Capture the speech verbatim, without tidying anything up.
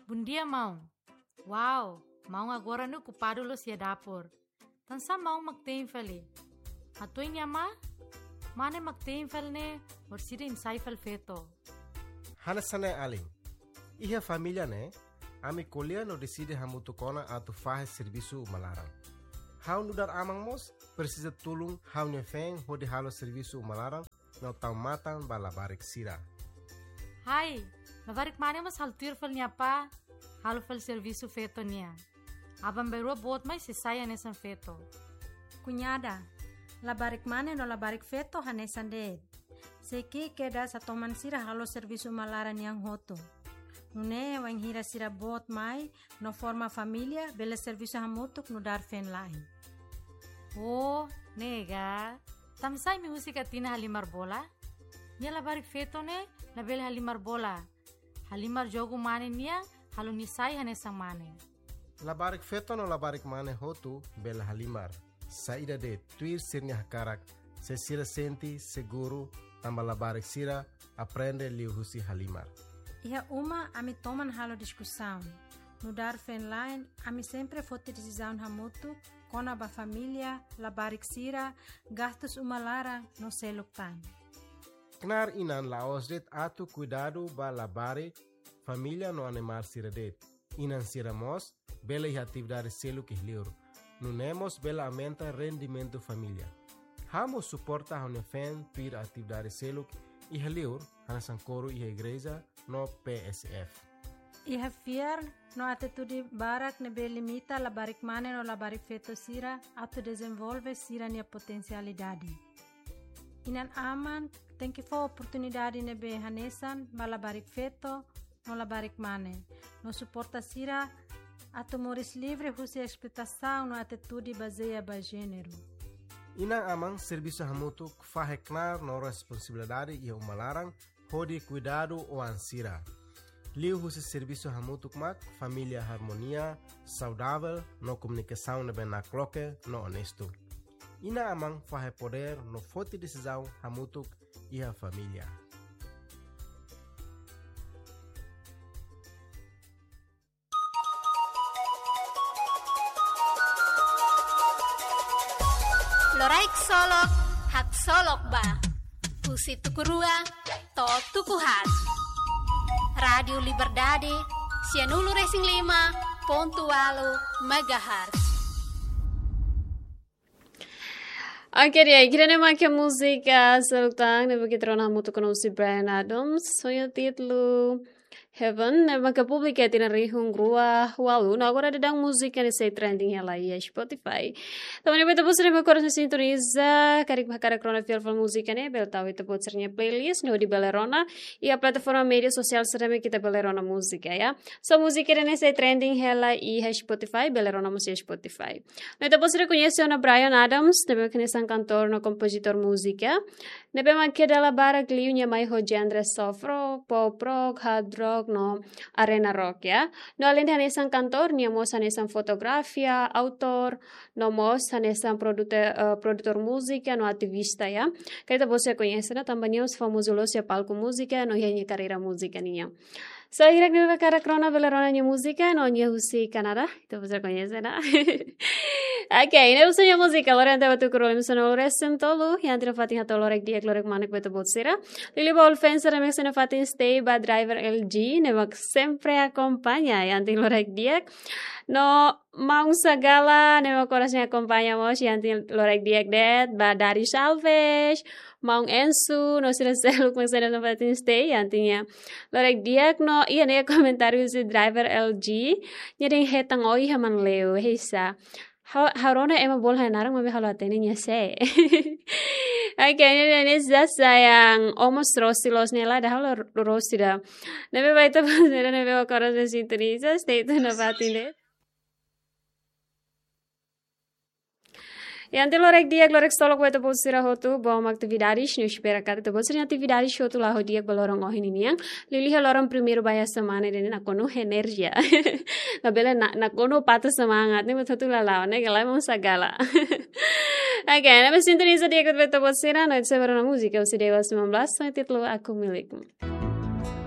Bondia, maun. Wow, maun agora ne'e okupadu loos iha dapur. Tansá maun mak te'in fali? Hato'o nia mane, mane mak te'in fali ne'e, orsida imi sai fali feto. Hanesan ne'e alin. Iha família ne'e, ami ko'alia no deside hamutuk ona atu fahe servisu uma laran. Ha'u nu'udar aman mós presiza tulun ha'u-nia feen hodi halo servisu uma laran no tau matan ba labarik sira. Hai, labarik mane mós halo tuir fali nia apá, halo fali servisu feto nian. Aban-bainrua boot mai sei sai hanesan feto. Kuñada, labarik mane no labarik feto hanesan de'it. Sei ki'ik kedas atu toman sira halo servisu uma laran nian hotu. Nune'e wainhira sira boot mai no forma família, bele servisu hamutuk nu'udar feen-la'en. Oh, ne'e ka. Tansá imi husik Atina halimar bola? Nia labarik feto ne'e labele halimar bola. Halimar jogu mane nian, halo nia sai hanesan mane. Labarik feto no labarik mane hotu bele halimar. Saida de'it, tuir sira-nia hakarak, se sira sente seguru, tanba labarik sira aprende liuhusi halimar. Iha uma ami toman halo diskusaun. Nu'udar feen-la'en, ami sempre foti desizaun hamutuk kona-ba família, labarik sira, gastus uma laran no seluk tan. Knaar inan la'ós de'it atu kuidadu ba labarik, família no animál sira de'it. Inan sira mós bele iha atividade seluk iha li'ur. Nune'e mós bele aumenta rendimentu família. Ha'u mós suporta ha'u-nia feen tuir atividade seluk iha li'ur, hanesan koru iha igreja no P S F. Iha fiar no atitude barak ne'ebé limita labarik mane no labarik feto sira atu dezenvolve sira-nia potensialidade. Inan-aman tenke fó oportunidade ne'ebé hanesan ba labarik feto no labarik mane, no suporta sira atu moris livre husi esploitasaun no atitude bazeia ba jéneru. Inan-aman servisu hamutuk fahe knaar no responsabilidade iha uma laran hodi kuidadu oan sira. Liuhusi servisu hamutuk mak família harmonia, saudavel no komunikasaun ne'ebé nakloke no onestu. Inan-aman fahe podér no foti desizaun hamutuk iha família. Loraik Solok, haksolok ba. Husi tuku rua to'o tuku haat. Rádiu Liberdade, sianulu resin lima pontu ualu megahertz. Oke, di'ak, ida-ne'e mak múzika seluk tan ne'ebé ita rona hamutuk ho Bryan Adams, ho nia títulu Heaven, ne'ebé publika iha tinan rihun rua ualu, no agora daudaun múzika ne'e sei trending hela iha Spotify. Tanba ne'e ba ita-boot sira ne'ebé agora sintoniza, karik ba hakarak rona fiar fali múzika ne'e, bele tau iha ita-boot sira-nia playlist, no hodi bele rona iha plataforma média sosiál sira ne'ebé ita bele rona múzika, ya. So múzika ne'e sei trending hela iha Spotify, bele rona mós iha Spotify. No ita-boot sira koñese ona Bryan Adams, ne'ebé mak hanesan kantór no kompozitór múzika. Ne'ebé mak dala barak liu nia mai ho genre soft rock, pop rock, hard rock no arena rock, ya. No alende hanesan kantór, nia mós hanesan fotógrafu, autór, no mós hanesan produte-, eh, produtór múzika no ativista, ya. Karik ita-boot sira koñese ona tanba nia mós famozu loos iha palku múzika no iha nia karreira múzika nian. So, hirak ne'ebé hakarak rona bele rona nia múzika, no nia husi Kanadá, ita-boot sira koñese ona. Oke, ne'e husi nia múzika, lori ante ba tuku rua liman sanulu resin tolu, iha ita-nia fatin hato'o loraik di'ak, loraik manek ba ita-boot sira. Liuliu ba all fans sira ne'ebé iha ita-nia fatin stay, ba driver L G, ne'ebé mak sempre akompaña, iha ita-nia loraik di'ak. No, Maun Sagala, ne'ebé mak oras ne'e akompaña mós, iha ita-nia loraik di'ak de'it, ba Dari Salves, Maun Ensu, no sira seluk mak sempre iha ita-nia fatin stay, iha ita-nia loraik di'ak no, iha ne'e komentáriu husi driver L G, nia dehan hetan oin iha Manleu, heisa. Ha'u, ha'u rona ema bolu ha'u-nia naran maibé ha'u la hatene nia sé. Oke, nia dehan nia sasayang, ó mós rosti loos ne'e lae, ida ha'u la ro-, rosti ida. Ne'ebé ba ita-boot sira ne'ebé mak oras ne'e sintoniza, stay tune ba ita-nia. Iha ita-nia loraik di'ak, loraik solok ba ita-boot sira hotu, boot mak atividades, no espera katak ita-boot sira-nia atividades hotu la'o di'ak ba loron ohin ninian. Liuliu iha loron primeiru ba iha semana ida-ne'e nakonu enerjia. Labele na-, nakonu patah semangat, ne'e buat hotu la la'o, ne'e gala Maun Sagala. Oke, ne'ebé sintoniza di'ak ba ita-boot sira, no ita sei bá rona múzika husi Dewa sembilan belas, ho títulu Aku Milikmu.